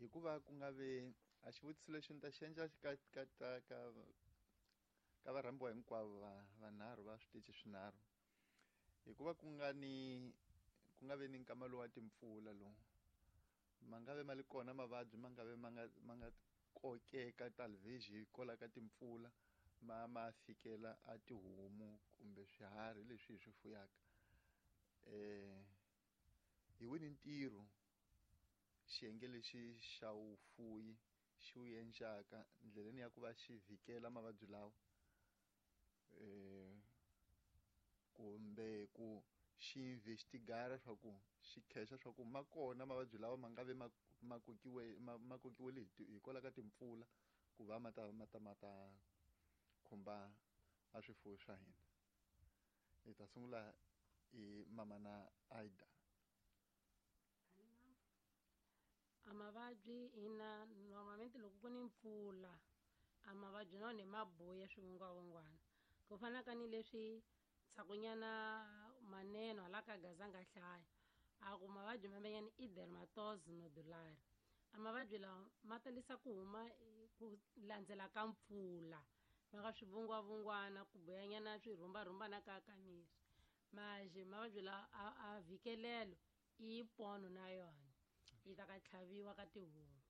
Hikuva ku nga ve a xivutiso lexi ni ta xi endla ka ka ka ka ka varhambiwa hinkwavo va vanharhu va switichi swinharhu. Hikuva ku nga ni ku nga ve ni nkama lowu wa timpfula lowu ma nga ve ma li kona mavabyi ma nga ve ma nga ma nga kokeka talvez hikwalaho ka timpfula ma ma fikela a tihomu kumbe swiharhi leswi hi swi fuyaka. Hi wini ntirho xiyenge lexi xa vufuwi xi wu endlaka ndleleni ya ku va xi vhikela mavabyi lawa kumbe ku xi investigara swa ku xi khexa swa ku ma kona mavabyi lawa ma nga ve ma ma kokiwe ma ma kokiwile hi hikwalaho ka timpfula ku va ma ta ma ta ma ta khumba a swifuwo swa hina. Hi ta sungula hi mamana Ida. A mavabyi ina normalmente loko ku ni mpfula a mavabyi na wona ma buya swivungwavungwana ku fana ka ni leswi ndzhakunyana maneno hala ka gaza nga hlaya a ku mavabyi mamenyani i dermatose nodular a mavabyi lawa ma talisa ku huma ku landzela ka mpfula ma nga swivungwavungwana ku buyanyana swirhumbarhumbana ka ka miri maje mavabyi lawa a vhikelelo i pono na yona yi ta ka tlhaviwa ka tihomu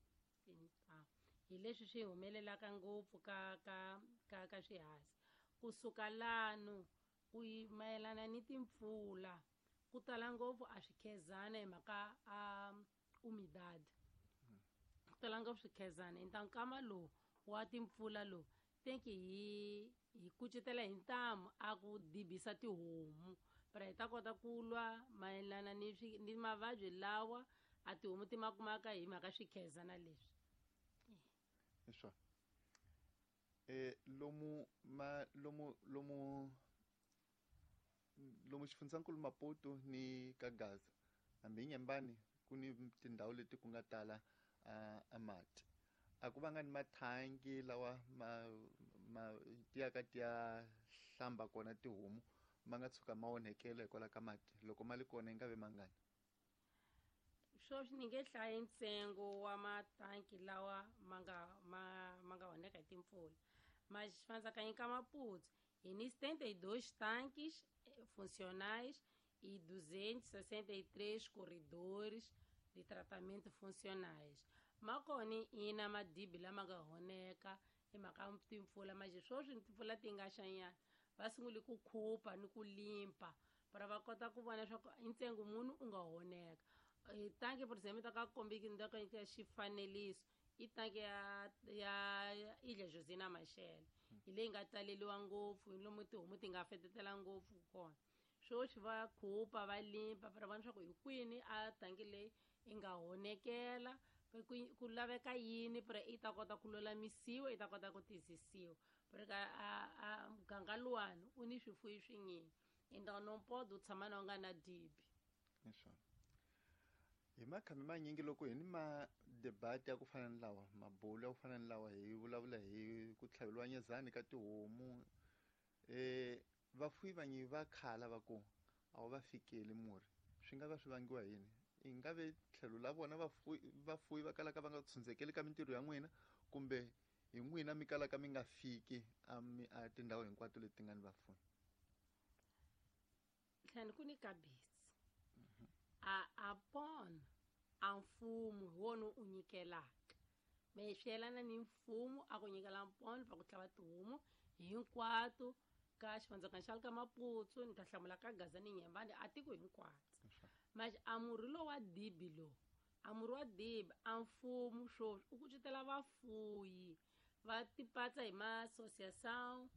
hi leswi swi humelelaka ngopfu ka ka ka ka swihazi kusuka lano ku mayelana ni timpfula ku tala ngopfu a swi khezana hi mhaka a umidad ku tala ngopfu swikhezana hi ta nkama lowu wa timpfula lowu think hi hi kucetela hi ntamu a ku dibisa tihomu para hi ta kota ku lwa mayelana ni swi ni mavabyi lawa a tihomu ti ma kumaka hi mhaka swikhezana leswi. Hi swona lomu ma lomu lomu lomu xifundzankulu Maputo ni ka Gaza hambi hi Nyembani ku ni tindhawu leti ku nga tala a mati a ku vanga ni mathangi lawa ma ma ti ya ka ti ya hlamba kona tihomu ma nga tshuka ma onhekela hikwalaho ka mati loko ma li kona yi nga ve mangani. Sweswi ni nge hlayi ntsengo wa matanki lawa ma nga ma ma nga onheka hi timpfula ma xifandzakanyi ka Maputo hi ni 72 tanques funcionais e 263 corredores de tratamento funcionais. Ma kona ina madibi lama nga honeka hi mhaka timpfula manje sweswi timpfula ti nga xanyana va sungule ku khupa ni ku limpa para va kota ku vona leswaku i ntsengo muni u nga honeka. Tanki por exemplo ta ka kombiki ni ta ka xifaneliso i tanki ya ya Ilha Josina Machel hi leyi nga taleliwa ngopfu hi lomu tihomu ti nga fetetela ngopfu kona. Sweswi va khupa va limpa para vona leswaku hi kwini a tanki leyi yi nga honekela ku laveka yini para yi ta kota ku lulamisiwa yi ta kota ku tiyisisiwa para a a muganga luwani u ni swifuyi swinyingi então não pode u tshama na u nga na dibi. Hi swona hi makhame manyingi loko hi ni ma debate ya ku fana ni lawa mabulo ya ku fana ni lawa hi vulavula hi ku tlhaveliwa nyezani ka tihomu vafuwi vanyi va khala va ku a wu va fikeli murhi swi nga va swi vangiwa hi yini i nga ve tlhelo la vona vafuwi vafuwi va kalaka va nga tshundzekeli ka mintirho ya n'wina kumbe hi n'wina mi kalaka mi nga fiki a mi a tindhawu hinkwato leti nga ni vafuwi. Tlhani ku ni kabisi a a pona a mfumo hi wona u nyikelaka me swi yelana ni mfumo a ku nyikela mpono va ku tlhava tihomu hinkwato ka xivandzakana xa le ka Maputsu ni ta hlamula ka Gaza ni Nyembani a tiko hinkwato manje a murhi lowu wa dibi lowu a murhi wa dibi a mfumo sweswi u kucetela vafuyi va tipatsa hi ma-associação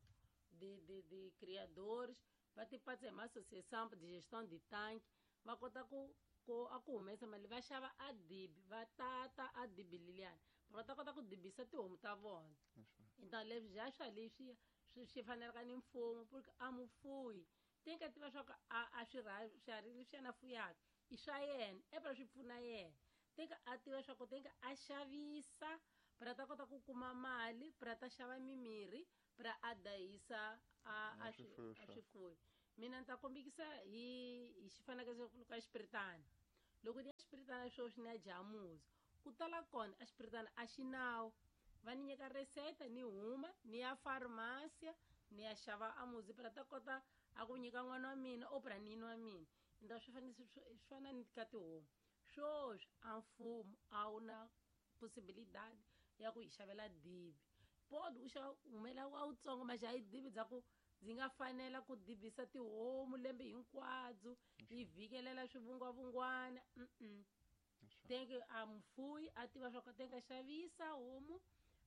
de de de criadores va tipatsa hi ma-associação de gestion de tanque va kota ku ku a ku humesa mali va xava a dibi va tata a dibi leliyani va ta kota ku dibisa tihomu ta vona. Então leswi ja swa leswi swi swi fanelaka ni mfumo porque a mufuyi ti nga tiva swa ku a a swi swiharhi leswi yena fuyaka i swa yena epela swi pfuna yena teka a tiva swa ku teka a xavisa pra ta kota ku kuma mali pra ta xava mimirhi pra a dayisa a a swifuyo. Mina ni ta kombekisa hi hi xifanekiso ka xipiritana loko ni ya xipiritana sweswi ni ya jamuza Ku tala kona a xipiritana a xi nawu. Va ni nyika reseta ni huma ni ya farmasia ni ya xava a muzi pra ta kota a ku nyika n'wana wa mina o pra ni nwa mina. Ende swi fanele swi fana ni ka tihomu. Swoswi a mfumo a wu na possibilidade ya ku hi xavela dibi. Pod u xava humela wa wutsongo ma xa hi dibi bya ku ndzi nga fanela ku dibisa tihomu lembe hinkwabyo yi vhikelela swivungwavungwana. Teke a mufuyi a tiva swa ku teka xavisa homu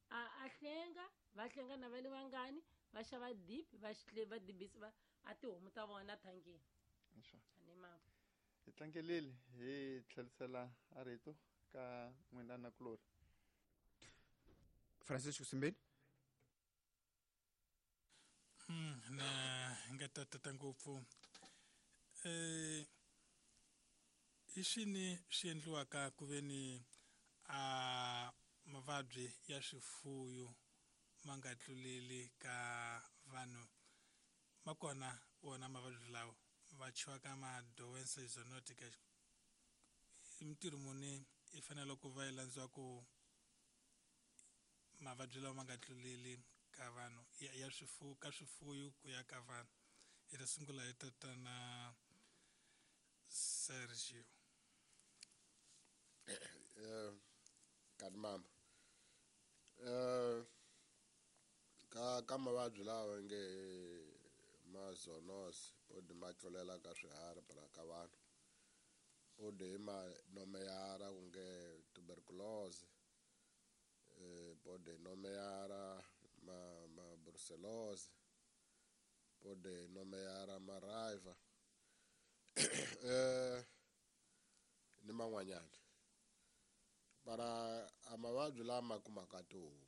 a hlenga va hlenga na va le vangani va xava dibi va va dibisa va a tihomu ta vona thangini. Ani mama hi tlangelile hi tlherisela a rito ka n'wina nakulorhi. Francisco Simbeni. Na nga tatata ngopfu i swini swi endliwaka ku ve ni a mavabyi ya swifuyo ma nga tluleli ka vanhu ma kona wona mavabyi lawa va chiwaka ma doença zoonotica i mintirho muni i fanele ku va yi landziwa ku mavabyi lawa ma nga tluleli ka vanhu ya, ya swifuwo ka swifuyo ku ya ka vanhu. Hi ta sungula hi tatana Sergio. Kanti mama ka mavabyi lawa nge ma zoonose podi ma tlulela ka swiharhi para ka vanhu podi hi ma nomeyara ku nge tuberculose podi nomeyara ma brucellose podi nomeyara ma raiva ni man'wanyana. Para a mavabyi lama kumaka tihomu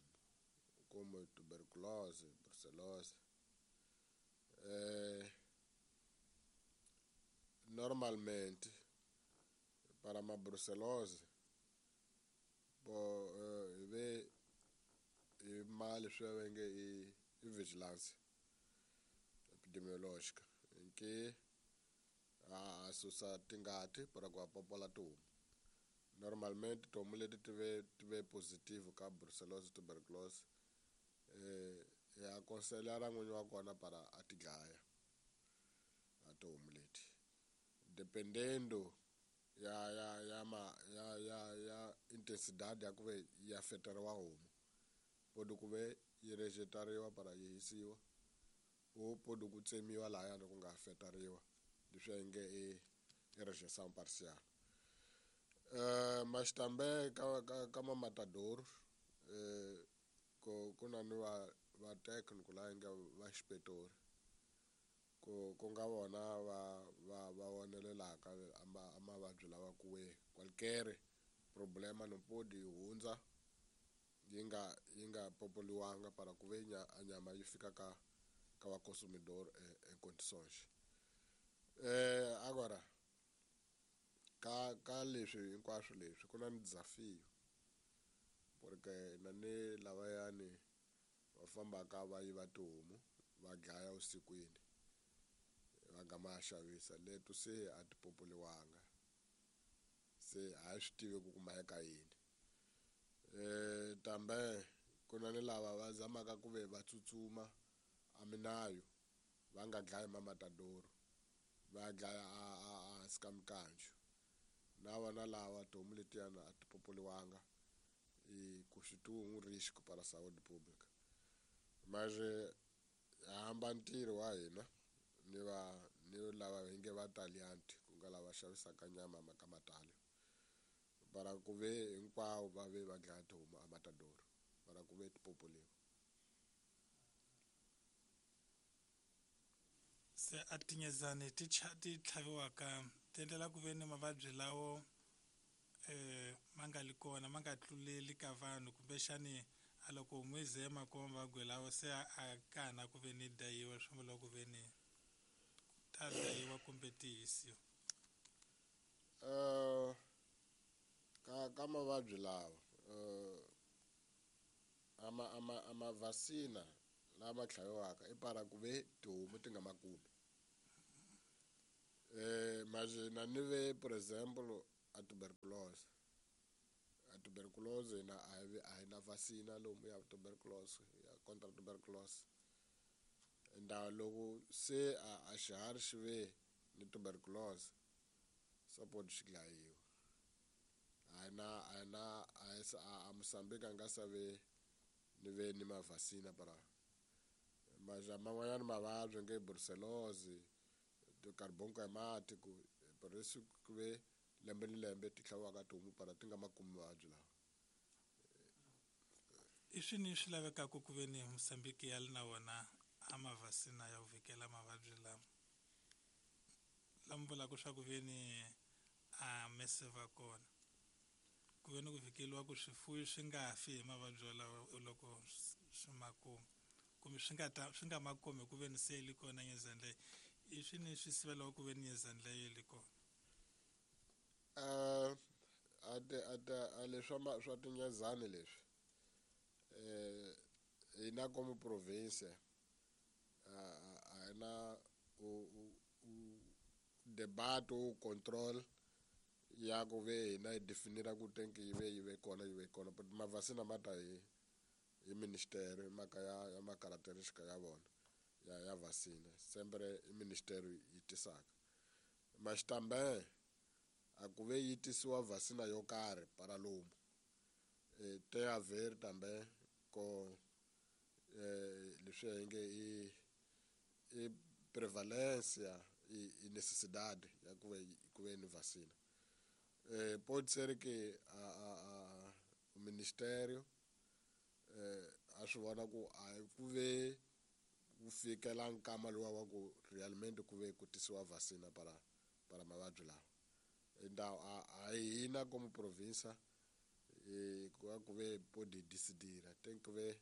kumbe tuberculose brucellose normalmente para ma brucellose bo hi ve hi mali swi va nge i vigilance epidemiologica nke a susa tingati para ku popola tihomu. Normalmente tihomu leti ti ve positive ka brucellose tuberculose ya konselela n'winyi wa kona para a ti dlaya a tihomu leti dependendo ya ya ya ma ya ya ya intensidade ya ku ve ya feteriwa homu podi ku ve yi rejetariwa para yi hisiwa o podi ku tsemiwa lahayani ku nga feteriwa leswi nge i rejeição parcial. Mas também ka ma matador ku na ni va técnico la nge va xipetori ku nga vona va vonelelaka a mavabyi lawa ku we qualquer problema no podi yi hundza yi nga popoliwanga para ku ve a nyama yi fika ka va consumidor em condições. Agora ka leswi hinkwaswo leswi ku na ni desafio porque na ni lavayani va fambaka va yiva tihomu va dlaya vusikwini va gama ya xavisa leto se a ti popoliwanga se a hi swi tivi ku kumeka yini. Tambe ku na ni lava va zamaka ku ve va tsutsuma a minayo va nga dlayi ma matadoro va dlaya a hansi ka mikanju na vona lava tihomu letiyana a ti popoliwanga e constitui um risco para a saúde pública. Mas hamba ntirho wa hina ni va ni lava hi nge va talianti ku nga lava xavisaka nyama ka matali para ku ve hinkwavo va ve va dlaya tihomu a matadoro para ku ve ti popoliwa. Se a tinyezani ti tlhaviwaka ti endlela ku ve ni mavabyi lawo ma nga li kona ma nga tluleli ka vanhu kumbexani a loko homu yi ze ma kuma mavabyi lawo se a kana ku ve ni dayiwa swi vula ku ve ni ta dayiwa kumbe ti hisiwa. Ka mavabyi lawa a ma vaccina lama tlhaviwaka i para ku ve tihomu ti nga ma kumi. Mas na ni ve por exemplo a tuberculose. Tuberculose na a hi na vacina lomu ya tuberculose, ya contra tuberculose. Enda loko se a xiharhi xi ve ni tuberculose, support xi dlayiwa. A na a na a Mozambique a nga save ni ve ni mavhasina para maja man'wanyana mavabyi nge brucellosis, carbonco hemático, por isso ku ve lembe ni lembe ti tlhaviwaka tihomu para ti nga ma kumi mavabyi lawa. I swini swi lavekaka ku ve ni Mozambique ya li na wona a mavhasina ya ku vhikela mavabyi lama lama vulaka swa ku ve ni a mese va kona ku ve ni ku vhikeliwa ku swifuwo swi nga fi hi mavabyi walawo loko swi ma kuma, kumbe swi nga ta swi nga ma kumi ku ve ni se li kona nyezani leyi. I swini swi sivelaku ku ve ni nyezani leyi li kona? A leswi swa tinyezani leswi hina como província a hi na debate u control ya ku ve hina hi definira ku tenki yi ve yi ve kona yi ve kona, but mavhasina ma ta hi ministeri mhaka ya ma-caracteristica ya vona ya vacina sempre i ministeri yi tisaka. Mas também a ku ve yi tisiwa vacina yo karhi para lomu tem a ver também com leswi hi nge i prevalência e necessidade ya ku ve ni vacina. Pode ser que a o ministério a swi vona ku a ku ve ku fikela nkama luwa wa ku realmente ku ve ku tisiwa vacina para mavabyi lawa. Então a hina como província ku ve pode decidir, tem que ver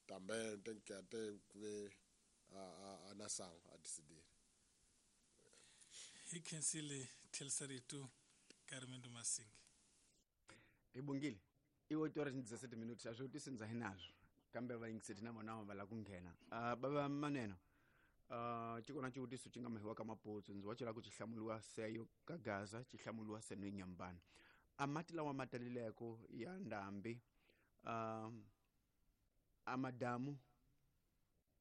também, tem que até ver a nação a decidir. Hi khensile tlheriseritu Carmendo Masingi. Hi bongile i 8 horas ni 17 minutos, a swi tisi ndza hi nazwo kambe vayingiseti na vona va lava ku nghena. Bava maneno xi kona xivutiso xi nga mahiwa ka maputsu, ndzi wa cela ku xi hlamuliwa seyo ka Gaza, xi hlamuliwa seno Nyambana. A mati lawa ma talileko ya ndhambi, a madamu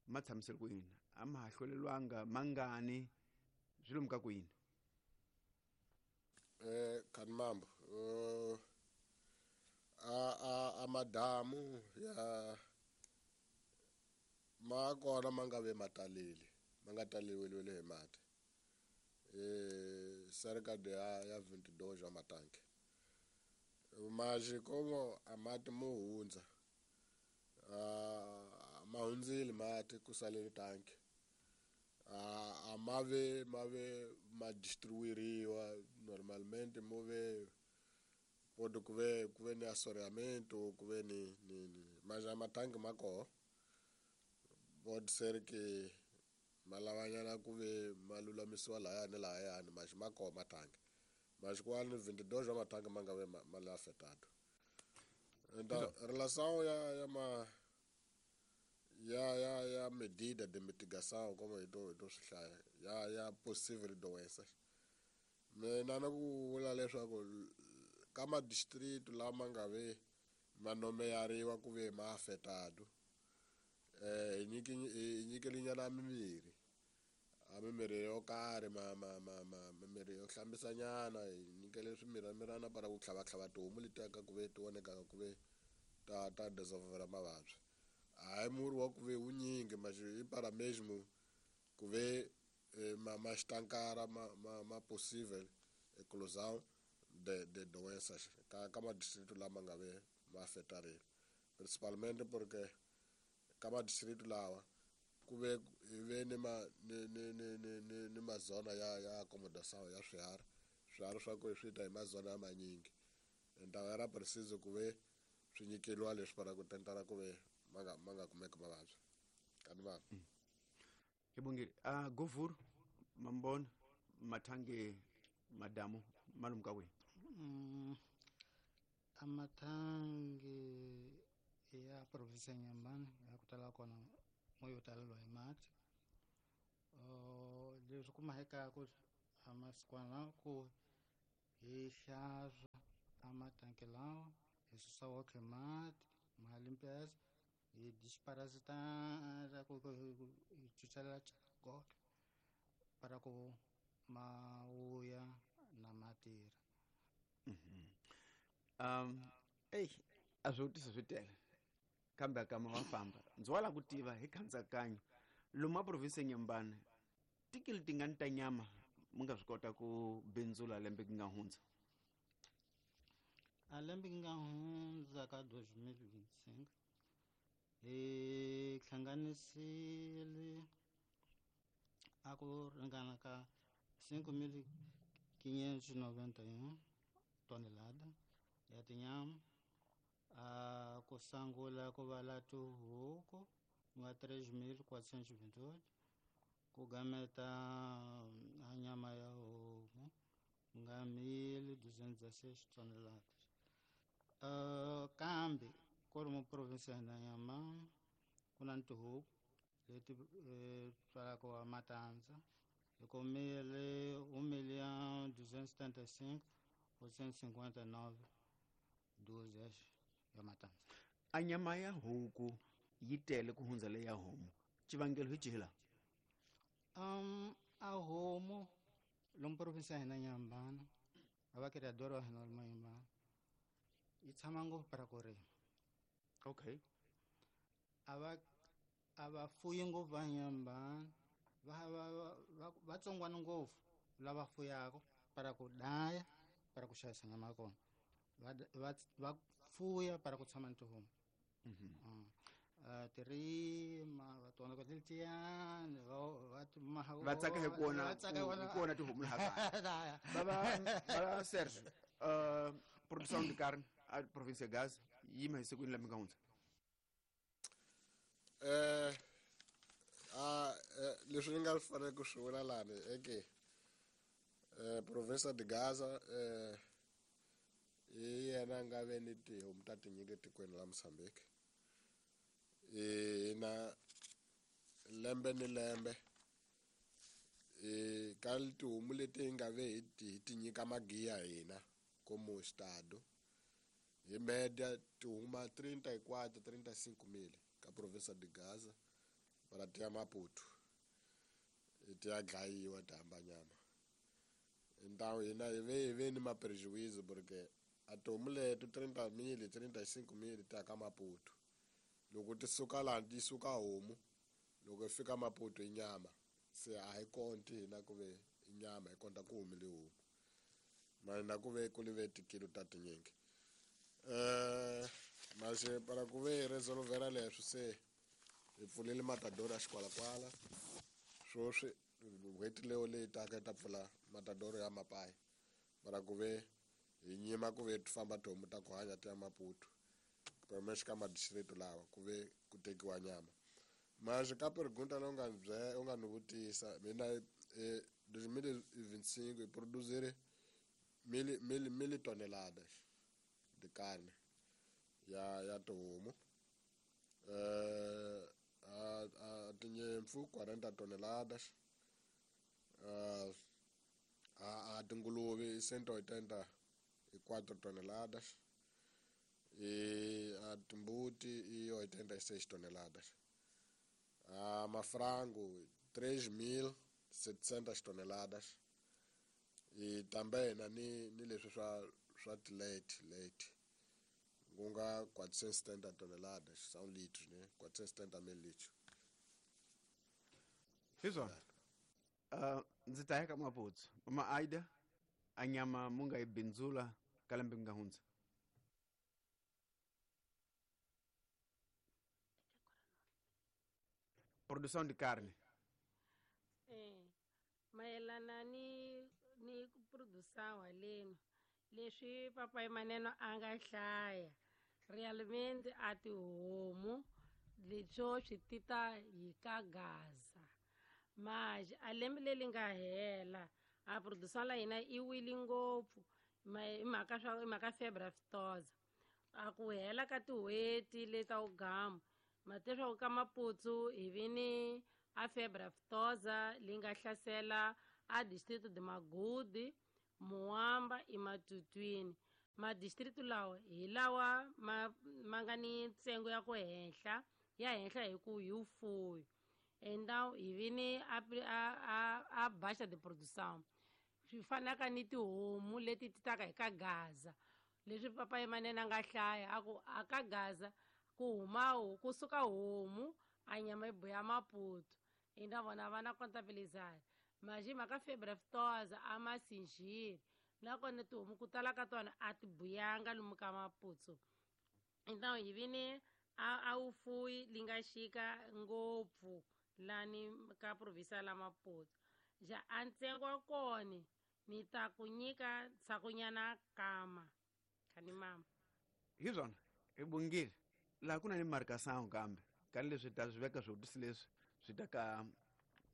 ma tshamisele ku yini? A ma ha hlwelelwanga mangani swi lomu ka ku yini? Khanimambo, a madamu ya ma kona ma nga ve ma taleli, ma nga taleliwile hi mati, cerca de ya 22 wa matanki. Mas como a mati mo hundza, ma hundzile mati ku salele tanki, a ma ve ma distribuiriwa normalmente, mo ve pode ku ve ni assoreamento, ku ve ni mas a matanki ma koho, pode ser que ma lavanyana ku ve ma lulamisiwa lahaya ni lahayani, mas ma koho matanki, mas kwani 22 wa matanki ma nga ve ma le afetado. Então relação ya ma ya medida de mitigação, como hi to swi hlaya ya possível doenças, mina na ku vula leswaku ka madistrito lama nga ve ma nomeyariwa ku ve ma afetado, hi nyikelinyana mimirhi, a mimirhi yo karhi, ma mimirhi yo hlambisanyana, hi nyikele swimiramirana para ku tlhavatlhava tihomu letiya ka ku ve ti vonekaka ku ve ta desenvolver mavabyi. Hayi murhi wa ku ve wunyingi, mas i para mesmo ku ve ma xitankara ma possível eclosão de doenças ka madistrito lama nga ve ma afetarile, principalmente porque ka madistrito lawa ku ve hi ve ni ma ni ni ni ni ni ni mazona ya acomodação ya swiharhi swa ku swi ta hi mazona ya manyingi. Então era preciso ku ve swi nyikeliwa leswi para ku tentara ku ve ma nga kumeki mavabyi kani vanhu. Hi bongile. Govur mambona mathange madamu malumu ka kwihi? Amathangi ya provinsi ya Nyambani ya ku tala kona mo yo taleliwa hi mati. Leswi kumekaku a masikwana lawa ku hi hlantswa amatanki lawa. Hi susa wotlhe mati ma limpeza, hi disparasitara ku hi cucela gotlhe para ku ma vuya na ma tirha. Eyi a swivutiso swi tele kambe kama wa famba ndzi wa lava ku tiva hi khandzakanya lomu a province Nyembane tikili tingani ta nyama mi nga swi kota ku bindzula lembe ku nga hundza? A lembe ku nga hundza ka 2025 hi hlanganisile a ku ringana ka 5.591 tonelada ya tinyama. A ku sungula ku vala tihuku ku nga 3.428, ku gameta a nyama ya homu ku nga 1.216 toneladas. Kambe ku ri mu province ya hina Nyamana ku na tihuku leti tswalaka wa matandza hi kumile 1.275.859 dúzias ya matandza. A nyama ya huku yi tele ku hundza leya homu, xivangelo hi xihi laha? A homu lomu province ya hina Nyambana a va criador wa hina lomu Nyambana yi tshama ngopfu para ku rima. Okay. A va fuyi ngopfu va Nyambana, va tsongwana ngopfu lava fuyaka para ku daya para ku xavisa nyama ya kona. Va fuya para ku tshama ni tihomu. Tirima va tona ku letiyani va tsaka hi kona hi kona tihomu laha kaya. Bava Serge, produção de carne a província de Gaza yima hi siku lembe nga hundza. Leswi ni nga fanele ku swi vula lani eke province de Gaza hi yena nga ve ni tihomu ta tinyingi etikweni la Mozambique. Hina lembe ni lembe ka tihomu leti hi nga ve hi ti nyika magiya hina como estado hi media ti huma 34 35 mil ka province de Gaza para ti ya Maputo ti ya dlayiwa ti hamba nyama. Então hina hi ve ni maprejuízo porque a tihomu leto 30 mil 35 mil ti ya ka Maputo. Loko ti suka laha ti suka homu loko yi fika Maputo i nyama, se a hi konti hina ku ve i nyama, hi konta ku humile homu mara ku ve ku live tikilo ta tinyingi. Mas para ku ve hi resolvera leswi se hi pfulile matadoro ya xikwalakwala swoswi n'hweti leyo leyi taka yi ta pfula matadoro ya mapayi para ku ve hi nyima ku ve ti famba tihomu ta ku hanya ti ya Maputo pelo menos ka madistrito lawa ku ve ku tekiwa nyama. Mas ka pergunta leyi u nga ni vutisa mina 2025 hi produzire mil toneladas de carne ya tihomu, a tinyimpfu 40 toneladas, a tinguluve 184 toneladas, a timbuti i 86 toneladas, a mafrango 3.700 toneladas, e também na ni leswi swa ti-leite ku nga 470 toneladas, são litros, né? 470 mil litros. Hi swona. Ndzi ta ya ka Maputsu. Mama Aida, a nyama mu nga yi bindzula ka lembe ku nga hundza? Produção de carne. Mayelana ni ku produção haleno leswi papai Maneno a nga hlaya realmente a tihomu leswo swi tita hi ka Gaza. Mas a lembe leri nga hela a produção la hina i wile ngopfu hi mhaka febre aftosa. A ku hela ka tin'hweti leta wugamu mateswaku ka Maputsu hi vi ni a febre aftosa leyi nga hlasela a distrito de Magudi, Muamba i Matutwini. Madistritu lawa hi lawa ma nga ni ntsengo ya ku henhla ya henhla hi ku hi vufuwi. Então hi vi ni a baixa de produção swi fanaka ni tihomu leti ti taka hi ka Gaza, leswi papa Manene a nga hlaya a ku a ka Gaza ku huma kusuka homu a nyama yi buya Maputo. Então vona va na contabilizar, mas hi mhaka febre aftosa a ma sinjiri, nakona tihomu ku tala ka tona a ti buyanga lomu ka Maputo. Então hi vi ni a vufuwi li nga xika ngopfu lani ka provinsia la Maputo. Ja a ntsengo wa kona ni ta ku nyika ntshakunyana kama khani mama. Hi swona hi bongile laha ku na ni marcação kambe ka leswi ta swi veka swivutiso leswi swi ta ka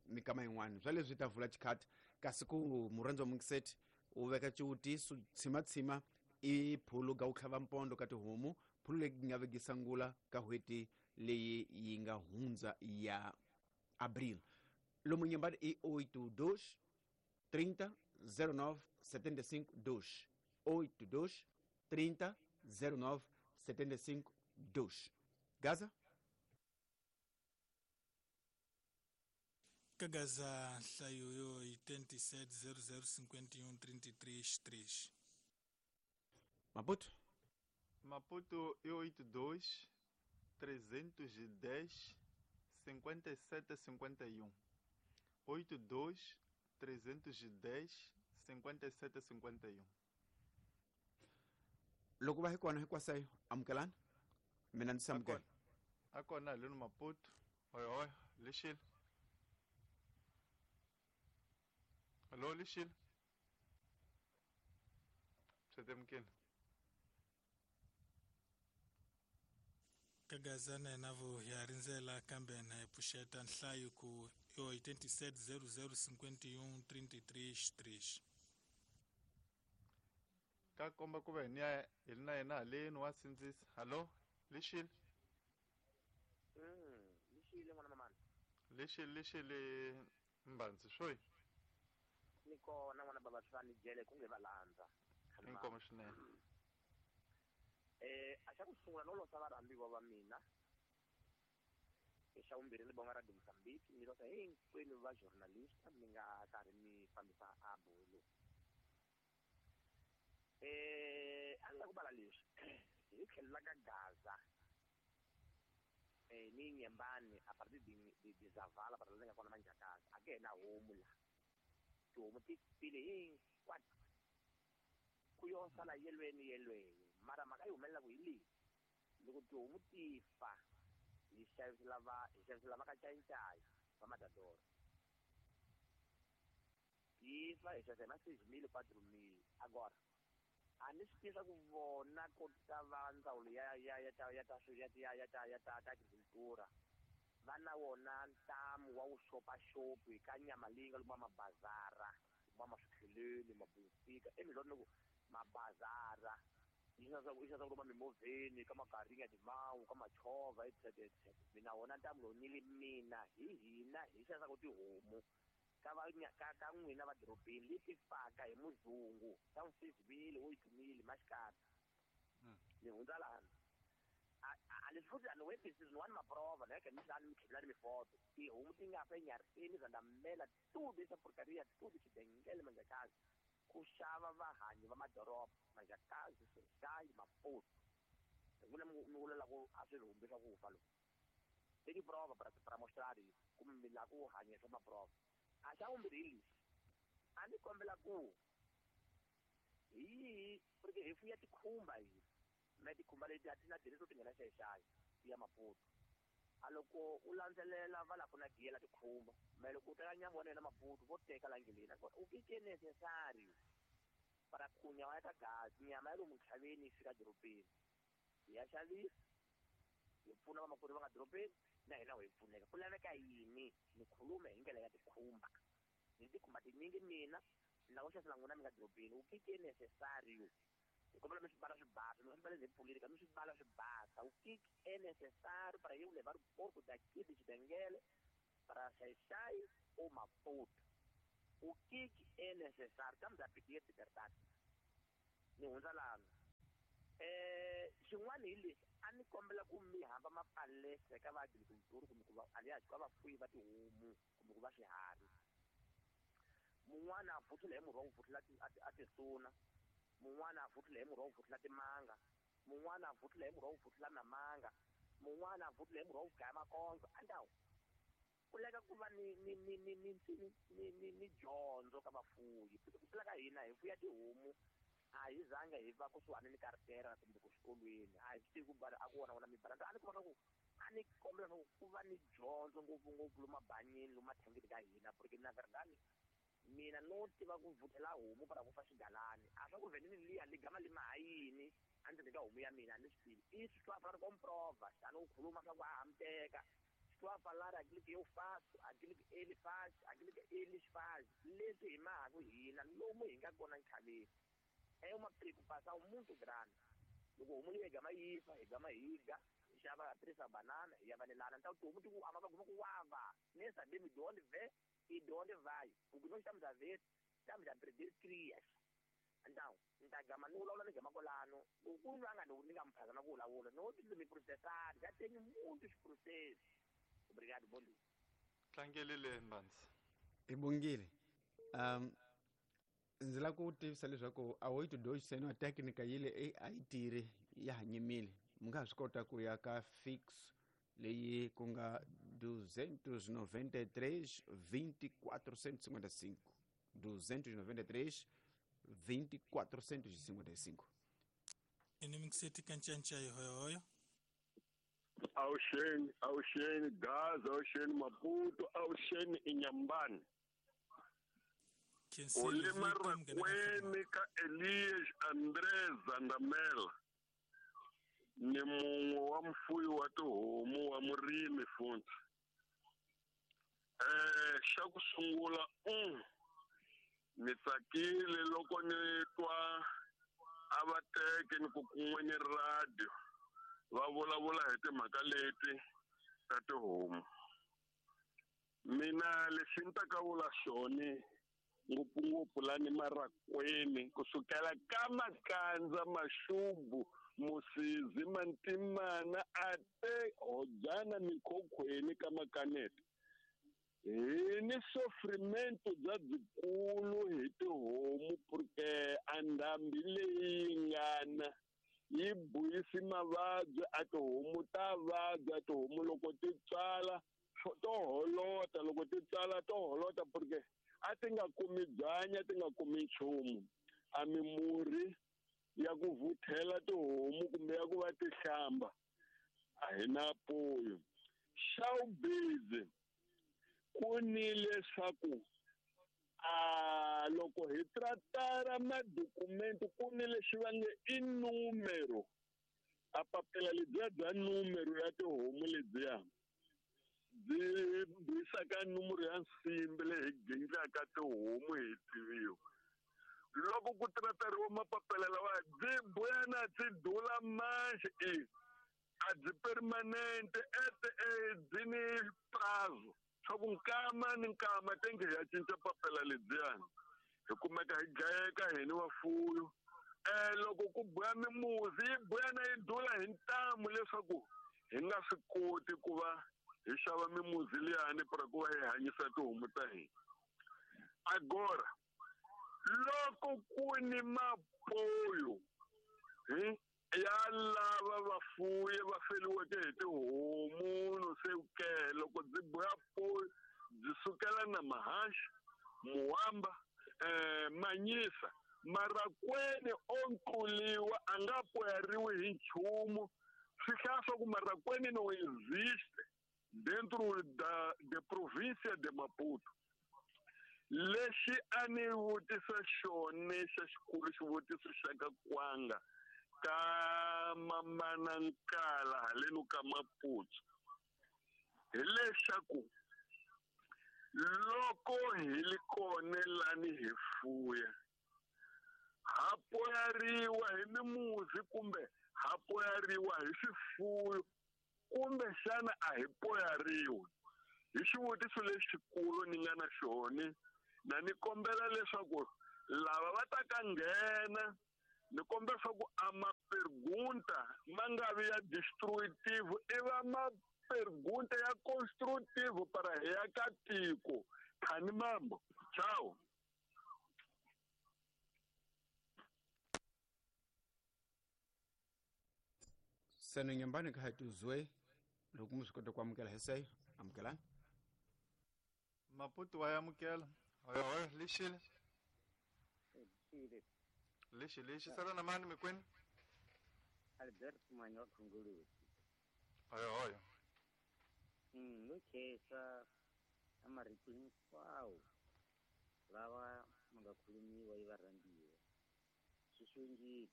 mikama yin'wana swa leswi ta vula xikhati, kasi ku murhandzi wa mukiseti u veka xivutiso tshimatsima i phulu ga ku tlhava mpondo ka tihomu, phulu leyi nga vekisa ngula ka n'hweti leyi yi nga hundza ya abril. Lomu nyambani i 82 30 09 75 2, 82 30 09 75 2. Gaza? Ka Gaza nhlayo yo hi 27 00 51 33 3. Maputo? Maputo i 82 310 57 51. 82 310 57 51. Loko va hi kona hinkwasayo amukelani, mina ndzi samukela. A kona haleni Maputo. Oi oi, lixile. Hallo, lixile. Swi temukile. Ka Gaza na hina vo hi ha rindzela, kambe na hi pfuxeta nhlayo ku yo 87 00 51 33 3. Ka komba ku va hi niya hi na yena haleni wa sindzisa. Hallo, lixile. Lixile n'wana mamani. Lixile, lixile mbandzi swoyi. Ni kona n'wana baba swa ni jele ku nge va landza. Inkomo swinene. A xa ku sungula no losa varhambiwa va mina. Xa vumbirhi ni bonga Radio Mozambique, ni losa hinkwenu va journalista mi nga karhi mi fambisa a bolo. A ni la ku bala leswi hi tlhelo la ka Gaza. Ni Nyembani a partir de Zavala para la nga kona Manjakazi a ke na homu la. Tihomu ti file hinkwato. Ku yo sala yelweni yelweni. Mara mhaka yi humelela ku hi leyi. Loko tihomu ti fa hi xavisela va ka Cayicayi va Matador. Ti fa hi xavisa hi ma 6 000, 4 000. Agora a ni swi tiva ku vona ko ta va ndzawulo ya ya ya ta ya ta ya ya ya ta ya ta ta agricultura va na wona ntamu wa vuxopaxopi ka nyama leyi nga lomu mabazara, lomu maswikheleni, mabufika emilweni ku mabazara yi xavisa lomu mimovheni ka magaringa timawu ka machovha etc etc. Mina wona ntamu lowu ni li mina hi hina hi xavisaka tihomu ka va ka n'wina va dorobeni leti faka hi muzungu ta 6 000, 8 000 maxikarhi. Ni hundza lana. A leswi futhi a ni webisi ni wani maprova na ni tlhela ni tlhela ni mifoto. Tihomu ti nga fa enyarheni Zandamela tudo essa porcaria tudo xibengele Manjakazi ku xava vahanyi va madoroba Manjakazi, Xayi, Maputo. N'wina mi vula ku a swi rhumbi swa ku fa loku. Tem prova para mostrar isso, como me lá ku hanya swa maprova. A xa vumbirhi hi lexi, a ni kombela ku hi porque hi fuya tikhumba hi na tikhumba leti a ti na direto ti nghena Xayi-Xayi ti ya Maputo. A loko u landzelela va la ku na giyela tikhumba, me loko u teka nyama wa yena Maputo vo teka la ndleleni. Nakona u ke necessario para ku nyama ya ka Gaza, nyama ya lomu ntlhaveni yi fika dorobeni hi ya xavisa hi pfuna vamakwerhu va nga dorobeni na hina hi pfuneka. Ku laveka yini? Ni khulume hi ndlela ya tikhumba. Ni tikhumba tinyingi mina ni lava ku xavisela n'wina mi nga dorobeni. U ke necessario hi kombela mi swi bala swi basa, mi nga swi bala hi pfulile mi swi bala swi basa. U ke necessario para eu levar o porco daqui de Xibengele para Xayi-Xayi ou Maputo. O que é necessário? Estamos a pedir liberdade. Ni hundza lana. Xin'wana hi lexi a ni kombela ku mi hamba mapalestra eka va agriculture kumbe ku va alias ka vafuyi va tihomu kumbe ku va swiharhi. Mun'wana a vuthula hi murhi wa ku vuthula a tisuna, mun'wana a vuthula hi murhi wa ku vuthula timanga, mun'wana a vuthula hi murhi wa ku vuthula namanga, mun'wana a vuthula hi murhi wa ku gaya makondzo. Andawu ku leka ku va ni ni ni ni ni ni ni ni ni dyondzo ka vafuyi. Ku tlula ka hina hi fuya tihomu, a hi zanga hi va kusuhani ni karitera kumbe ku xikolweni, a hi swi tivi ku bala a ku wona wona mibala. A ni kuma swa ku a ni kombela swa ku va ni dyondzo ngopfungopfu lomu mabanyini, lomu mathangini ka hina, porque na verdade mina no tiva ku vuthela homu para ku fa xigalani. A swa ku venene liya ligama lima ha yini a ndzeni ka homu ya mina a ni swi tivi. Isso swi va comprova xana u khuluma swa ku a hamteka estou a falar aquilo que eu faço, aquilo que ele faz, aquilo que eles fazem. Leswi hi mahaku hina lomu hi nga kona nkhaveni é uma preocupação muito grande. Loko homu leyi gama yi fa, hi gama hi dya, hi xava tirhisa banana hi ya vanelana. Então tihomu ti ku ama va guma ku wava nem sabemos de onde vem e de onde vai, porque nós estamos a ver, estamos a perder crias. Então ni ta gama ni vulavula ni gama kwalano ku ku ri nga ni nga mi phazama ku vulavula no ti mi processar já tenho muitos processos. Obrigado, bom dia. Tlangelile Mbanzi. Hi bongile. Ndzi lava ku tivisa leswaku a wo yi tidoxiseni wa teknika yi le a yi tirhi, ya ha nyimile. Mi nga ha swi kota ku ya ka fix leyi ku nga 293 2455, 293 2455. Ini mingiseti ka ncanca hi hoyohoyo. Awuxeni, awuxeni Gaza, awuxeni Maputo, awuxeni Inhambane. Olima Rakweni ka Elias André Zandamela ni mun'we wa mfuyi wa tihomu wa murimi futhi. Xa ku sungula ni tsakile loko ni twa a va teke ni ku kun'we ni radio va vulavula hi timhaka leti ta tihomu. Mina lexi ni ta ka vula xona ngopfungopfu lani Marakweni, kusukela ka Makandza, Maxubu, Musizi, Mantimana, ate Hojana, Mikhokhweni ka Makanete, hi ni sofrimento bya byikulu hi tihomu, porque a ndhambi leyi ngana yi buyisi mavabyi. A tihomu ta vabya, tihomu loko ti tswala to holota, loko ti tswala to holota, porque a ti nga kumi byanyi, a ti nga kumi nchumu. A mimurhi ya ku vuthela tihomu kumbe ya ku va ti hlamba a hi na poyo. Xa vubizi ku ni leswaku a loko hi tratara madokumento ku ni lexi va nge i numero, a papila lebyiya bya numero ya tihomu lebyiya byi buyisaka numero ya nsimbi leyi hi gindlaka tihomu hi tiviwa. Loko ku tratariwa mapapila lawa byi buyana byi dula manxe, i a byi permanente ete byi ni prazo swa ku nkama ni nkama tenge hi ya cinca papila lebyiyani, hi kumeka hi dlayeka hi ni vafuyo. Loko ku buya mimuzi yi buyana yi dula hi ntamu leswaku hi nga swi koti ku va hi xava mimuzi liyani para ku va hi hanyisa tihomu ta hina. Agora loko ku ni mapoyo ya lava vafuyi va feliweke hi tihomu no se ke loko byi buya poyo byi sukela na mahaxi, muwamba, manyisa, Marakweni o nkuliwa a nga poyariwi hi nchumu. Swi hlaya swa ku Marakweni no existe dentro da de província de Maputo. Lexi a ni vutisa xona xa xikulu, xivutiso xa ka kwanga ka mamana Nkala haleno ka Maputo, hileswaku loko hi li kona lani hi fuya ha poyariwa hi mimuzi kumbe ha poyariwa hi swifuyo kumbe xana a hi poyariwi? Hi xivutiso lexikulu ni nga na xona, na ni kombela leswaku lava va ta ka nghena, ni kombela leswaku a ma pergunta mapergunta ma nga vi ya destructive, i va mapergunta ya constructive para hi ya ka tiko. Khani mambo. Ciao. Seno nyumbani ka hatuzwe loko mi swi kota ku amukela hi seyo amukelani. Maputo wa amukela. Hoyo hoyo lixile. Lixile. Lixi lixi sala na mani mikwini? Albert Manyo Khungulusi. Hoyo hoyo. No khensa a marito hinkwawo lawa ma nga khulumiwa yi varhandziwa. Swi xongile.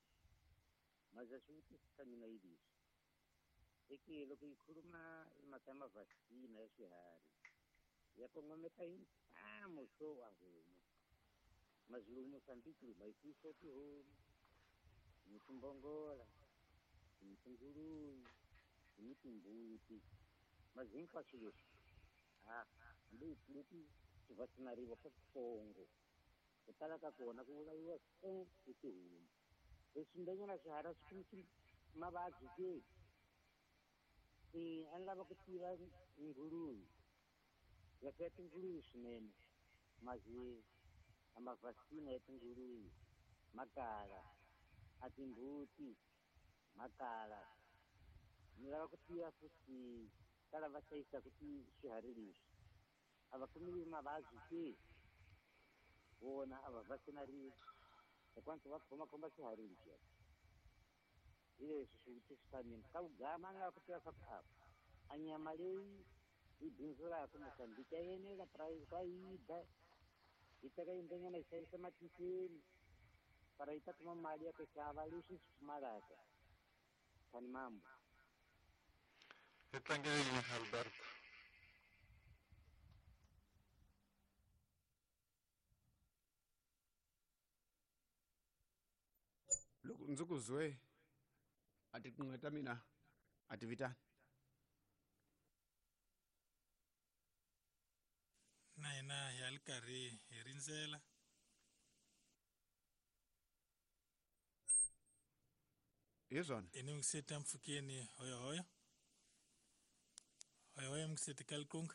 Maza swivutiso swa mina hi leswi. Eke loko yi khuluma hi mhaka ya mavhasina ya swiharhi ya kongometa hi ntamu swo a homu. Mazulu Mozambique ma yi fuyisa tihomu, ni timbongola, ni tinguluve, ni timbuti. Mazi hinkwaswo leswi ha hambi leti ti vaccinariwa swa switsongo ku tala ka kona ku vulaviwa se hi tihomu. Leswi ndanyana swiharhi swi kumisi mavabyi ke. A ni lava ku tiva nguluve. Ya fuya tinguluve swinene. Mazi a mavhasina ya tinguluve ma kala, a timbuti ma kala. Ni lava ku tiva futhi ka lava hlayisaka swiharhi leswi a va kumiwi mavabyi ke? Vona a va vaccinariwi hikwalaho va khomakhoma swiharhi leswiya. Hi leswi swivutiso swa mina. Ka vugama a ni lava ku tiva swa ku a nyama leyi yi bindzulaka Mozambique ya enela price va yi dya yi teka yindlwanyana yi xavisa matikweni para yi ta kuma mali ya ku xava leswi swi pfumalaka. Khani mambo. Hi tlangeleni Albert. Loko ndzi ku zwe a tiqingho ta mina a ti vitani. Na hina hi ya ri karhi hi rindzela. Hi swona. I ni mukiseti mpfhukeni hoyo hoyo. Hoyo hoyo mukiseti ka likunga.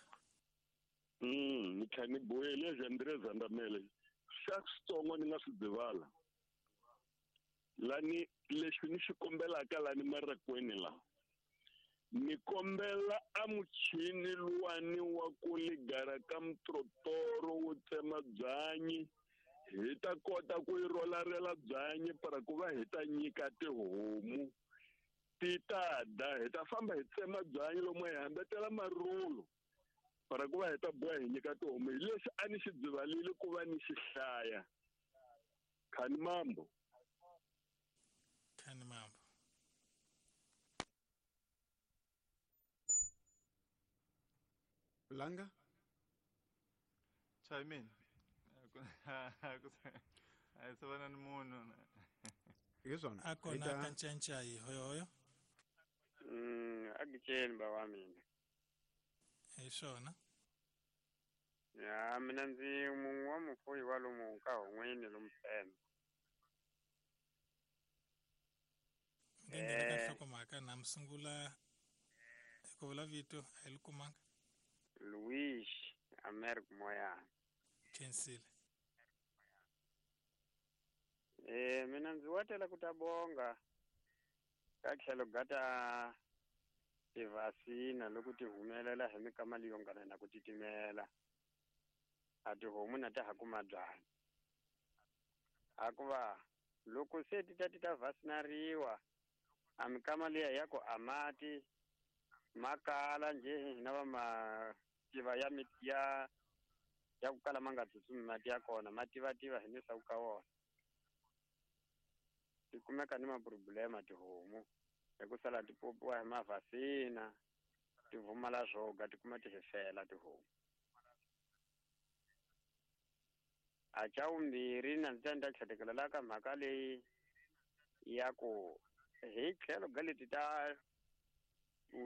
Ni kha ni boyele André Zandamele. Xa switsongo ni nga swi dzivala. Lani lexi ni xi kombelaka lani marakweni la. Ni kombela a muchini luwani wa ku ligara ka mtrotoro wo tsema byanyi. Hi ta kota ku yi rolarela byanyi para ku va hi ta nyika tihomu. Ti ta da, hi ta famba hi tsema byanyi lomu hi hambetela marulu para ku va hi ta boha hi nyika tihomu. Hi lexi a ni xi dzivalile ku va ni xi hlaya. Khani mambo. Khani mambo. Langa? Chime in. A se vana ni munhu. Hi swona. A kona ka ncancayi hoyo hoyo. A giceni ba wa mina. Hi swona. Ya mina ndzi mun'we wa mufuyi wa lomu ka hon'wini lomu Pemba. Nge nghena ka nhlokomhaka na mi sungula hi ku vula vito a hi li kumanga. Luis Americo Moyana. Khensile. Mina ndzi watela ku ta bonga ka tlhelo ga ta tivhasina loko ti humelela hi mikama leyo ngana na ku titimela. A tihomu na ta ha kuma byanyi. Hikuva loko se ti ta ti ta vasinariwa a mikama liya ya ku a mati ma kala njhe hina va mativa ya ya ya ku kala ma nga tsutsumi mati ya kona ma tivativa hi leswaku ka wona. Ti kumeka ni maproblema tihomu hi ku sala ti popiwa hi mavhasina ti vumala swoga ti kuma ti hefela tihomu. A xa vumbirhi na ndzi ta ndzi ta tlhetekela ka mhaka leyi ya ku hi tlhelo ga leti ta ku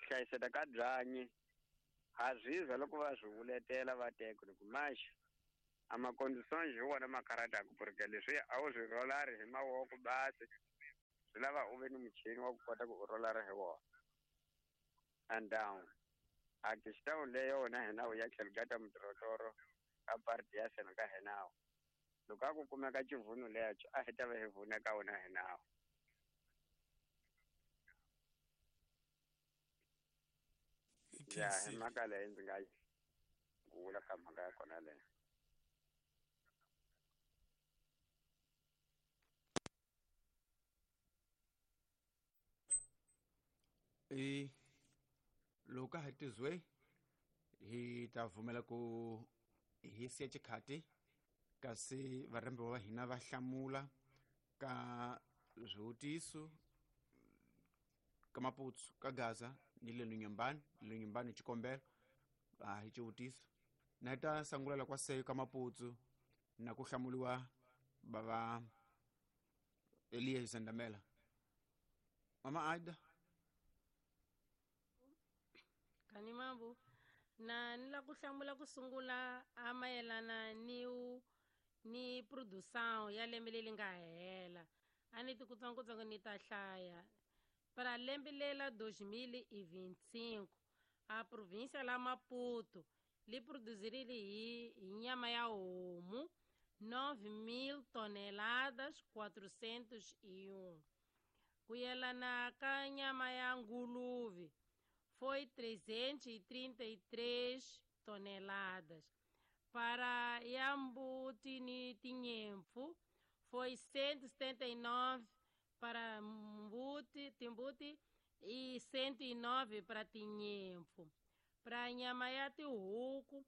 hlayiseka ka byanyi ha zwizwa loko va swi vuletela va teka ku maxa a makonditions hi wona ma karhataka ku ri leswi a wu swi rolari hi mavoko basi Swi lava u ve ni muchini wa ku kota ku u rolara hi wona. And down. A questão leyo wona hina u ya tlhelo ka ta mutirotoro ka parti ya sena ka hina. Loko a ku kumeka xivuno lexo a hi ta va hi vuna ka wona hina. Ya hi mhaka leyi ndzi nga vula ka mhaka ya kona leyo. E loko ha tizwe hi ta vumela ku hi siya xikhati kasi varhambiwa va hina va hlamula ka swivutiso ka Maputo ka Gaza ni le Lunyambani. Lunyambani xikombelo a hi xivutiso na ta sangulela kwa seyo ka Maputo na ku hlamuliwa bava Elias Zandamela. Mama Aida kani mambo na ni la ku hlamula ku sungula a mayelana ni produção ya lembe leri nga hela. A ni ti kutsongotsongo ni ta hlaya. Para lembe lela 2025 a província la Maputo li produzirile hi nyama ya homu 9.000 toneladas 401. Ku yelana ka nyama ya nguluve foi 333 toneladas. Para Yambuti ni Tinhemfu foi 179 para Mbuti, Timbuti e 109 para Tinhemfu. Para nyama ya tihuku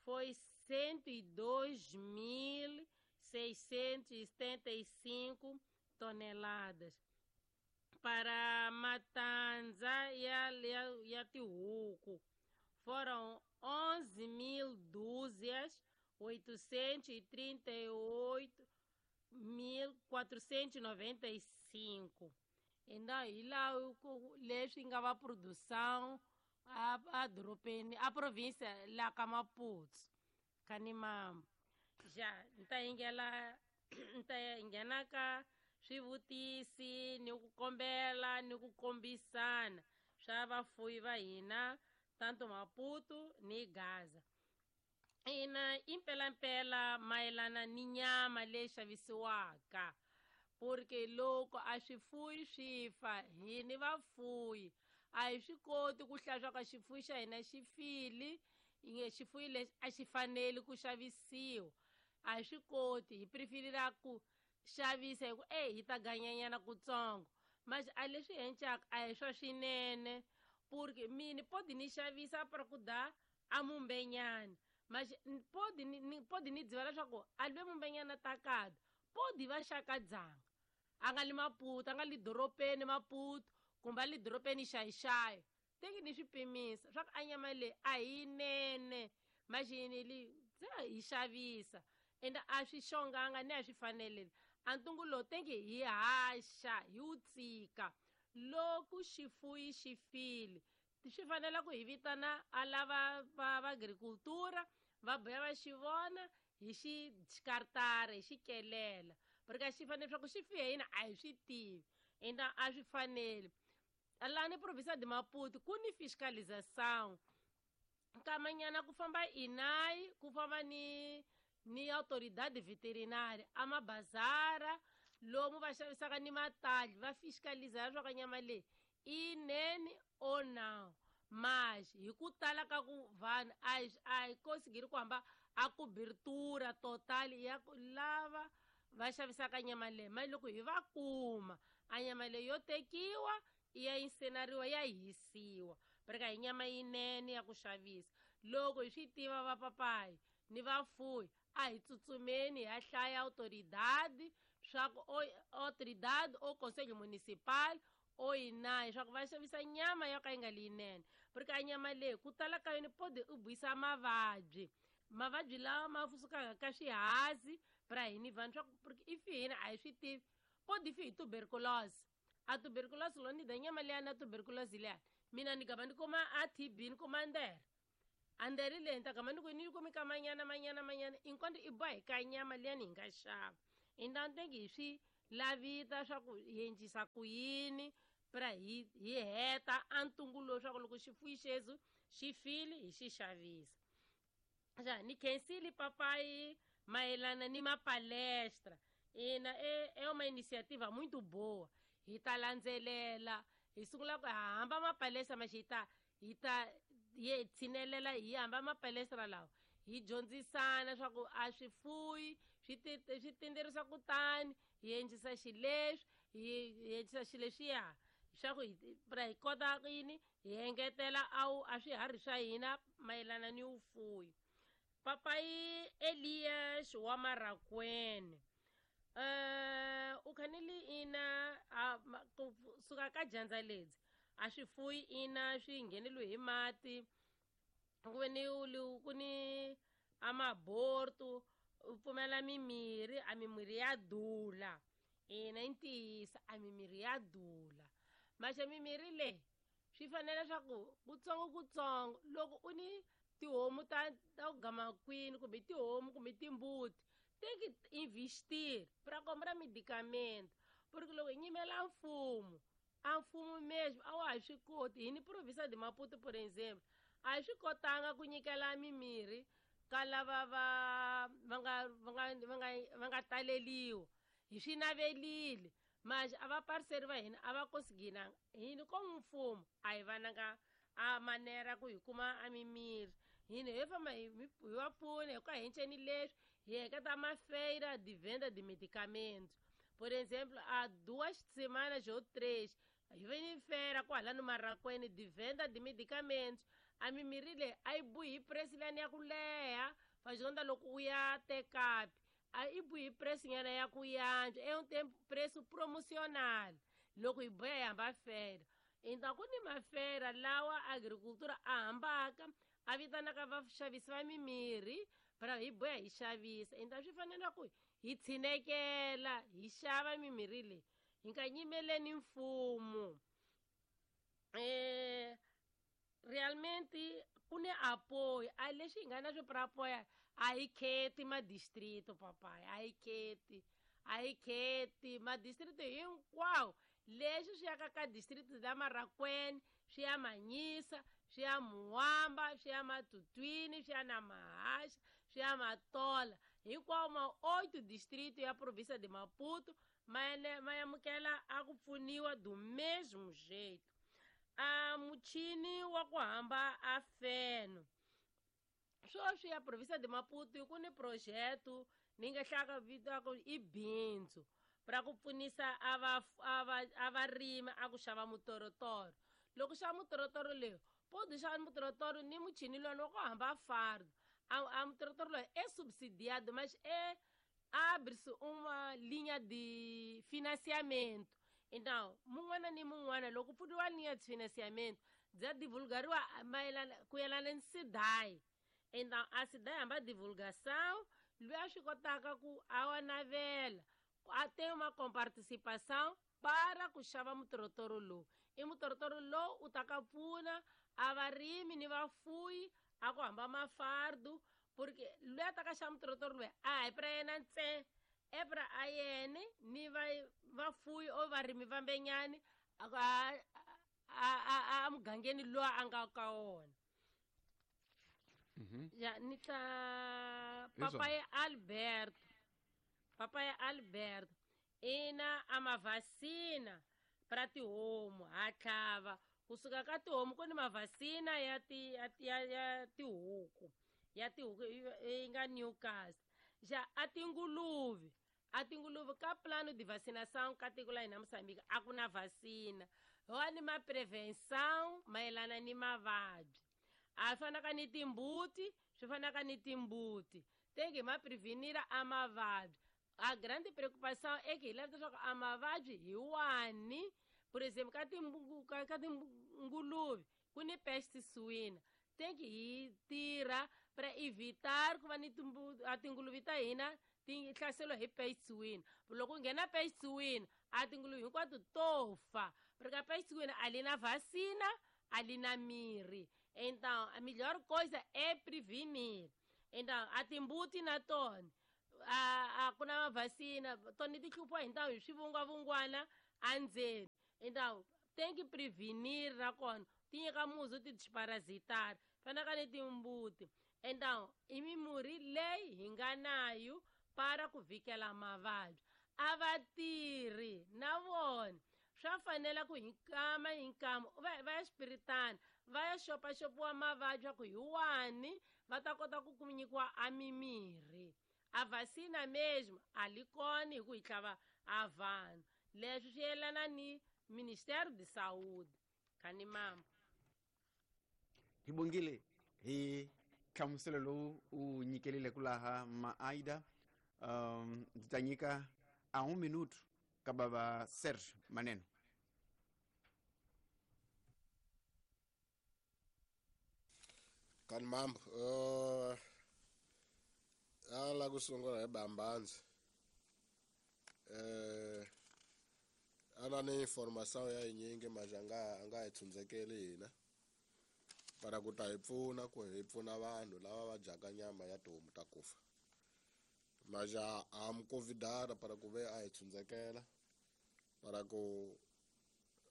foi 102.675 toneladas. Para Matanza ya tihuku foram 11.000 dúzias, 838.495. Então, e lá leswi nga va produção a dorobeni a província la ka Maputo Kanimambo. Já nta ingela nta nghena ka swivutisi ni ku kombela ni ku kombisana swa vafuwi va hina tanto Maputo ni Gaza. Ina impelampela mayelana ni nyama leyi xavisiwaka, porque loko a swifuyi swi fa hi ni vafuyi a hi swi koti ku hlaya swa ka xifuyi xa hina xi file, inge xifuyi lexi a xi faneli ku xavisiwa. A hi swi koti, hi preferira ku xavisa hi ku hi ta ganyanyana kutsongo. Mas a leswi encaka a hi swa swinene, porque mini podi ni xavisa para ku da a mumbenyana. Mas podi ni dziva leswaku a lwe mumbenyana takada podi va xaka dzanga a nga li Maputo, a nga li doropeni Maputo kumbe a li doropeni xayixayi. Teki ni swi pimisa swa ku a nyama leyi a hi yinene, maxini li se hi xavisa ende a swi xonganga ni a swi faneleli. A ntungu lowu tengi hi haxa hi wu tsika loko xifuyi xi file swi fanele ku hi vitana a lava va agricultura va boya va xi vona hi xi xikartara hi xi kelela, porque xi fanele swa ku xi fihe yini a hi swi tivi ende a swi faneli. Laha ni província de Maputo ku ni fiscalização nkamanyana ku famba INAI ku famba ni autoridade veterinária a mabazara lomu va xavisaka ni matali va fiscaliza leswaku nyama leyi i yinene or não. Mas hi ku tala ka ku vanhu a hi konsigiri ku hamba a cobertura total ya ku lava va xavisaka nyama leyi. Mali loko hi va kuma a nyama leyi yo tekiwa ya insenariwa ya hisiwa, porque hi nyama yinene ya ku xavisa. Loko hi swi tiva vapapayi ni vafuyi a hi tsutsumeni hi ya hlaya autoridade swa ku autoridade o conselho municipal o INAI swa ku va xavisa nyama yo ka yi nga li yinene, porque a nyama leyi ku tala ka yona podi u buyisa mavabyi, mavabyi lawa ma sukaka ka swihazi pra hini vanhu swa ku porque i fi hina a hi swi tivi podi fi hi tuberculose. A tuberculose lo ni da nyama liya na tuberculose liya mina ni gama ni kuma a TB ni kuma ndere a ndere leyi ni ta gama ni ku ni kumi ka manyana manyana manyana inkonto i boha hi ka nyama liya ni hi nga xava. Inda ntengi hi swi lavita swa ku hi endlisa ku yini pra hi heta a ntungu lowu swa ku loko xifuyi xezu xi file hi xi xavisa. Ja ni khensile papai mayelana ni mapalestra. Ina é uma iniciativa muito boa. Hi ta landzelela, hi sungula ku hamba mapalestra mas hi ta hi tshinelela hi hamba mapalestra lawa. Hi dyondzisana swa ku a swifuyi swi tinderisa kutani hi endlisa xileswi, hi endlisa xileswiya swa ku hi kota yini hi engetela a swiharhi swa hina mayelana ni vufuyi. Papai Elias wa Marakwene u khanile ina kusuka ka dyandza ledzi a swifuyi ina swi ngheneliwe hi mati, ku ve ni ku ni amaborto, u pfumela mimirhi, a mimirhi ya dula. Ina i ntiyiso, a mimirhi ya dula. Maxe mimirhi leyi swi fanele swa ku kutsongo loko u ni tihomu ta ku gama kwini kumbe tihomu kumbe timbuti, tem que investir para comprar medicamento, porque loko hi nyimela mfumo, a mfumo mesmo a wa ha swi koti. Hi ni província de Maputo, por exemplo, a hi swi kotanga ku nyikela mimirhi ka lava va nga taleliwa. Hi swi navelile, mas a va parceri va hina a va conseguinanga. Hina como mfumo a hi vananga a manera ku hi kuma a mimirhi. Hina hi famba hi va pfuna hi ku hi enceni leswi hi heketa mafeira de venda de medicamento. Por exemplo, há 2 semanas ou 3, hi ve ni feira kwalano Marakwene de venda de medicamentos. A mimirhi leyi a yi buhi hi preço liyani ya ku leha, fazonda loko u ya tekapi a yi buhi hi preço nyana ya ku yantswa, é um tempo preço promocional. Loko hi boya hi hamba feira. Então ku ni mafeira lawa agricultura a hambaka a vitanaka vaxavisi va mimirhi para hi boya hi xavisa. Então swi fanele ku hi tshinekela hi xava mimirhi leyi, hi nga nyimeleni mfumo. Realmente ku ni apoio, a lexi hi nga na swo para apoia a hi kheti madistrito papai, a hi kheti madistrito hinkwawo. Leswi swi yaka ka distrito la Marakwene, swi ya Manyisa, swi ya Muwamba, swi ya Matutwini, swi ya na Mahaxa, swi ya Matola. Hinkwawo ma 8 distrito ya província de Maputo ma amukela a ku pfuniwa do mesmo jeito. A muchini wa ku hamba a feno. Sweswi ya província de Maputo ku ni projeto ni nga hlaka vitaka i bindzu para ku pfunisa a varimi a ku xava mutorotoro. Loko xava mutorotoro leyo, pode xava mutorotoro ni muchini lowu wa ku hamba fardo. A mutorotoro loyi é subsidiado, mas é abre-se uma linha de financiamento. Então, mun'wana ni mun'wana loko pfuriwa linha de financiamento, bya divulgariwa mayelana ku yelana ni SIDAI. Então, a SIDAI hamba divulgação, loyi a swi kotaka ku a wa navela, a tem uma comparticipação para ku xava mutorotoro lowu. I mutorotoro lowu u ta ka pfuna a varimi ni vafuyi a ku hamba mafardu, porque loyi a ta ka xava mutorotoro loyi a hi pra yena ntsena, e pra a yene ni vafuyi o varimi vambenyani a mugangeni loyi a nga ka wona. Ya ni ta papai Alberto ina a mavacina para tihomu ha tlhava kusuka ka tihomu ku ni mavacina ya tihuku yi nga Newcastle. Ja a tinguluve ka plano de vacinação ka tiko la hina Moçambique a ku na vacina, wa ni ma prevenção mayelana ni mavabyi. A fanaka ni timbuti, swi fanaka ni timbuti tem que ma prevenir a mavabyi. A grande preocupação é que hi lava leswaku a mavabyi hi wani. Por exemplo, ka tinguluve ku ni peste suína, tem que hi tirha para evitar ku va ni tinguluve ta hina ti hlaseriwa hi peste suína. Loko ku nghena peste suína, a tinguluve hinkwato to fa, porque a peste suína a li na vacina, a li na mirhi. Então, a melhor coisa é prevenir. Então, a timbuti na tona A ku na mavhasina tona ti hluphiwa hi ntamu hi swivungwavungwana andzeni. Então tem que prevenir nakona ti nyika muzi ti parasitari fanaka ni timbuti. Então i mimurhi leyi hi nga nayo para ku vhikela mavabyi. A va tirhi na vona swa fanela ku hi kama hi nkama va ya xipiritana va ya xopaxopiwa mavabyi ya ku hi wani va ta kota ku nyikiwa a mimirhi. A vacina mesmo a li kona hi ku hi tlhava a vanhu. Leswi swi yelana ni Ministério de Saúde. Kani mama hi bongile hi nhlamuselo lowu u nyikelile ku laha Maaida. Ndzi ta nyika a 1 minuto ka bava Serge Maneno. Kani mambo a la ku sungula hi bambandzi a na ni information ya yinyingi manje a nga hi tshundzekeli hina para ku ta hi pfuna ku hi pfuna vanhu lava va dyaka nyama ya tihomu ta kufa. Manje a mi convidara para ku ve a hi tshundzekela para ku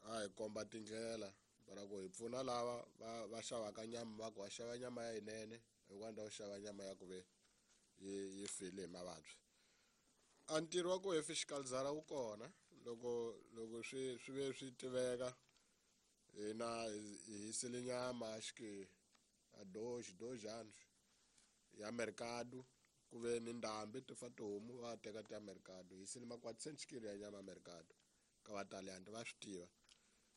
a hi komba tindlela para ku hi pfuna lava va xavaka nyama va ku va xava nyama ya yinene hikwalaho u xava nyama ya ku ve yi file hi mavabyi. A ntirho wa ku hi fiscalizara wu kona loko loko swi ve swi tiveka hina hi hisile nyama acho que a dois anos ya mercado ku ve ni ndhambi ti fa tihomu va teka ti ya mercado hisile ma 400 kilo ya nyama mercado ka vataliyani va swi tiva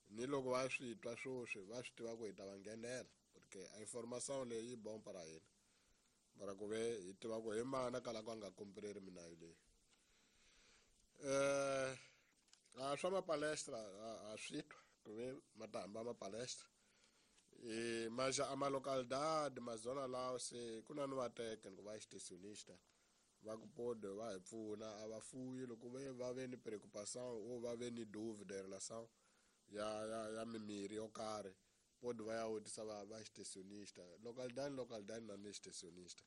ni loko va swi twa swoswi va swi tiva ku hi ta va nghenela porque a information leyi yi bomba ra hina para ku ve hi tiva ku hi mana kala ku a nga kompreri minayo leyi. A swa mapalestra a swi twa ku ve ma ta hamba mapalestra mas a ma localidade mazona lawo se ku na ni vateke ku va extensionista va ku pode va hi pfuna a va fuyi loko ve va ve ni preocupação ou va ve ni dúvida em relação ya mimirhi yo karhi pode va ya vutisa va extensionista localidade na ni extensionista.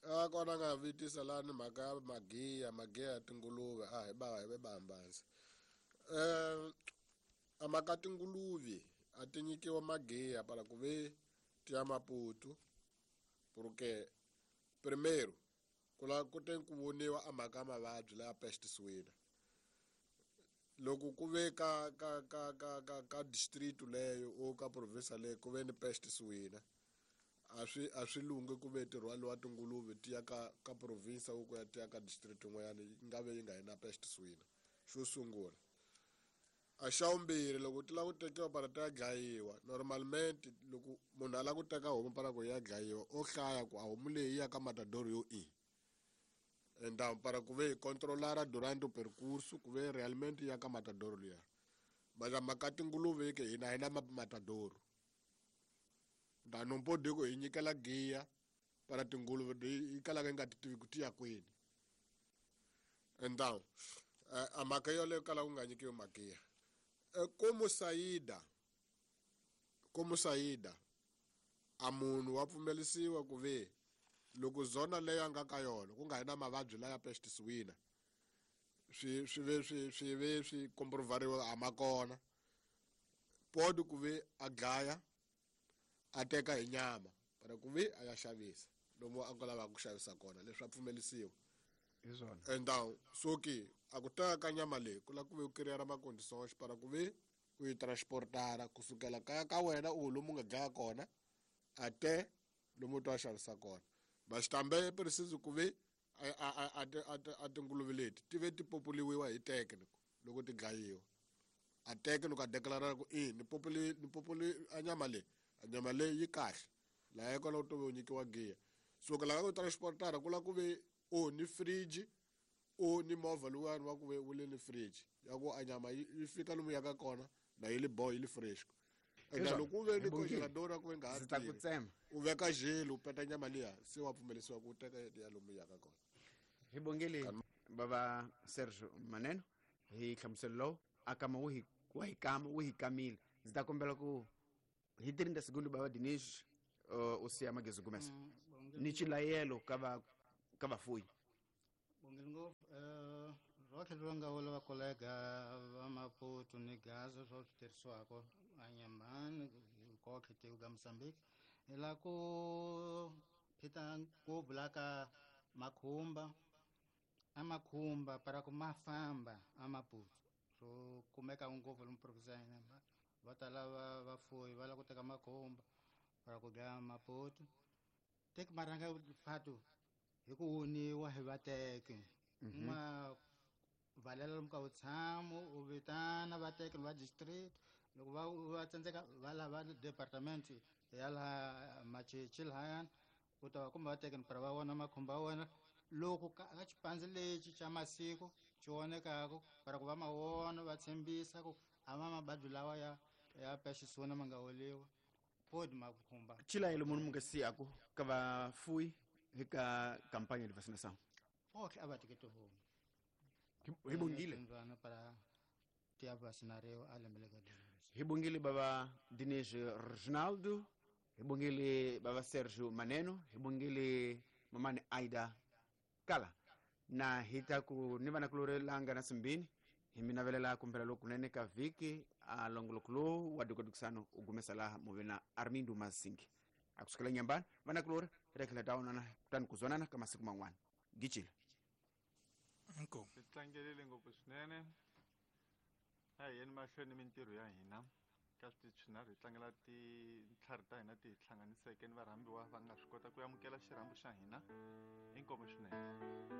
A kona nga vitisa la ni mhaka ya magiya ya tinguluve a hi ba hi bambanzi. A mhaka tinguluve a ti nyikiwa magiya para ku ve ti ya Maputo porque primeiro ku te ku voniwa a mhaka ya mavabyi laya peste suína loko ku ve ka ka ka ka ka ka district leyo o ka province leyo ku ve ni peste suína a swi lunghi ku ve ti rhwaliwa tinguluve ti ya ka province u ku ya ti ya ka district yin'wanyana yi nga ve yi nga yi na peste suína. Xo sungula a xa vumbirhi loko ti lava ku tekiwa para ti ya dlayiwa normalmente loko munhu a lava ku teka homu para ku ya dlayiwa o hlaya ku a homu leyi yi ya ka matador yo i então para ku ve hi controlara durante o percurso ku ve realmente ya ka matador liya mas a mhaka tinguluve ke hina hi na matador então não pode ku hi nyikela giya para tinguluve yi kalaka yi nga ti tivi ku ti ya kwini. Então a mhaka yoleyo kala ku nga nyikiwi magiya. Como saída a munhu wa pfumelisiwa ku ve loko zona leyo a nga ka yona ku nga hi na mavabyi laya peste suína swi ve swi comprovariwa a ma kona pode ku ve a dlaya a teka hi nyama para ku ve a ya xavisa lomu a nga lavaka ku xavisa kona leswi a pfumelisiwa hi swona. Então so ke a ku teka ka nyama leyi ku lava ku ve u kiriyara macondições para ku ve u yi transportara kusukela kaya ka wena u lomu nga dlaya kona a te lomu u ta xavisa kona. Mas também é preciso ku ve a tinguluve leti ti ve ti populiwa hi técnico loko ti dlayiwa a técnico a declarar ku i ni populi a nyama leyi yi kahle laha kona u to ve u nyikiwa giya. So ku lava ku transportara ku lava ku ve o ni fridge o ni movha luwani wa ku ve wu le ni fridge ya ku a nyama yi fika lomu ya ka kona na yi le boy yi le fresh. Enda loko u ve ni congelador ku ve nga ha tirhi u veka gelo u peta nyama liya se wa pfumelisiwa ku teka ya lomu ya ka kona. Hi bongile bava Sergio Maneno hi nhlamuselo lowu a kama wu hi kamile. Ndzi ta kombela ku hi 30 segundu bava Dinesh U siya Magezi Gumesa ni chilayelo ka vafuyi. Bongile ngopfu. Rotlhe ri nga vula vakolega va Maputo ni Gaza swa swi tirhisiwaka anyambani kotlhe tiko ka Mozambique, hi la ku phita ngopfu la ka makhumba, a makhumba para ku ma famba a Maputo swo kumeka ngopfu lomu province ya hina. Va tala va vafuyi va lava ku teka makhumba para ku dlaya Maputo teki marhanga fatu hi ku wuniwa hi vateki. Ma valela lomu ka vutshamo, u vitana vateki va district, loko va tsandzeka va lava department ya laha Machichi lahayani, u ta va kumba vateki para va vona makhumba ya wena loko ka xipandzi lexi xa masiku xi vonekaku para ku va ma vona, va tshembisa ku a ma mabadi lawa ya pexisuna ma nga woliwa fodi makhumba. Chilayelo munhu munga siyaku ka vafuyi hi ka kampanya de vacinação? Fotlhe a va teke tihomu. Hi bongile. Mbyana para ti ya vacinariwa a lembe leka. Hi bongile baba Dinis Reginaldo, hi bongile baba Sergio Maneno, hi bongile mamani Aida Kala. Na hita ku ni vana kulore langa na simbini, hi mi navelela kumpela lokunene ka vhiki a longoloko lowu wa dukadukisano u gumesa laha muve na Armindo Mazingi. Akusukela nyambani vana kulore hi ta tlhela ta onana kutani ku zwonana ka masiku man'wana. Gicile. Inkomu. Hi tlangelile ngopfu swinene. A hi yeni mahlweni mintirho ya hina ka switichi swinharhu, hi tlangela tintlhari ta hina ti hi hlanganiseke ni varhambiwa va nga swi kota ku amukela xirhambo xa hina. Inkomu swinene.